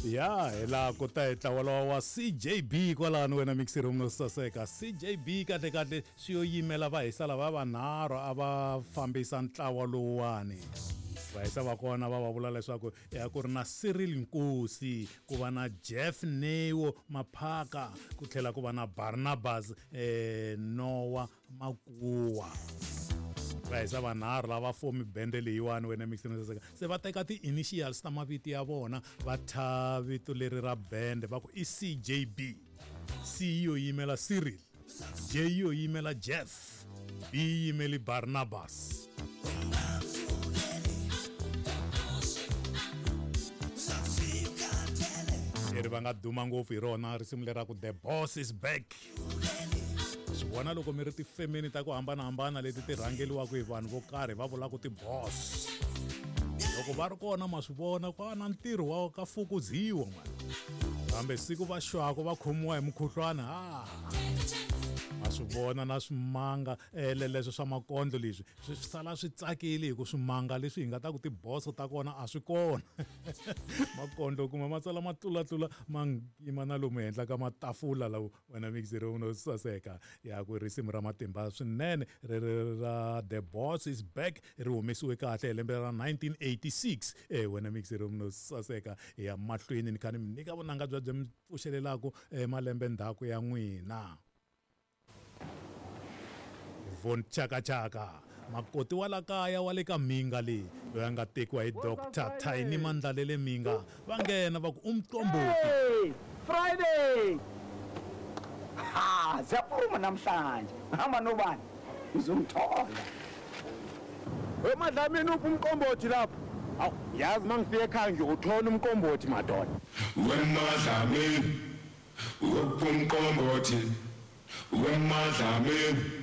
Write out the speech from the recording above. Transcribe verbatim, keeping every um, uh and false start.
Ya hi laha ku ta hi ntlawa lowa wa C J B kwalano, wena mixer no saseka. C J B kahle kahle swi yo yimela vahisa lava vanharhu a va fambisa ntlawa lowuwani. Vahisa va kona va va vula leswaku ya ku ri na Cyril Nkosi, ku va na Jeff Neo Maphaka, ku tlhela ku va na Barnabas eh, Noah Makuwa. Vahisa vanharhu lava fomi bende leyiwani, wena mixer no saseka. Se va teka ti-initials ta mavito ya vona, va thya vito leri ra bende, va ku i C J B. C yo yimela Cyril, J yo yimela Jeff, B yimeli Barnabas. Leri va nga duma ngopfu hi rona risimu leraku "The Boss Is Back". Swi vona loko mi ri tifemeni ta ku hambanahambana leti ti rhangeliwaka hi vanhu vo karhi, va vulaka ti-boss, loko va ri kona ma swi vona ku na ntirho wa ka fukuziwa mani, kambe siku va xwako va khomiwa hi mukhuhlwana, ha ma swi vona na swimanga eh, leswo swa makondlo leswi swi sala swi tsakile, hi ku swimanga leswi hi nga ta ku tiboso ta kona a swi kona. Makondlo kuma ma tsala ma tlulatlula, ma yima na lomu henhla ka matafula lawo, wena mixer no saseka. Ya ku risimu ra matimba swinene ri ri ra "The Boss Is Back" ri humesiwe kahle hi lembe ra nineteen eighty-six, eh wena mixer no saseka. Ya mahlweni ni kha ni mi nyika vunanga bya byi mi pfuxelelaku eh, malembe ndzhaku ya n'wina. Von Chakachaka, makoti wa la kaya wa le ka Minga leyi, loyi a nga tekiwa hi Doctor Tiny Mandlalele Minga, va nghena va ku umqombothi. Hey, Friday! Ha, siyaphuma namhlanje. Hamba nobani? Uzongithola. Wemadlamini, uphi umqombothi lapho? Awu, yazi mangifika ekhaya ngiyothola umqombothi, madoda. Wemadlamini, uphi umqombothi? Wemadlamini.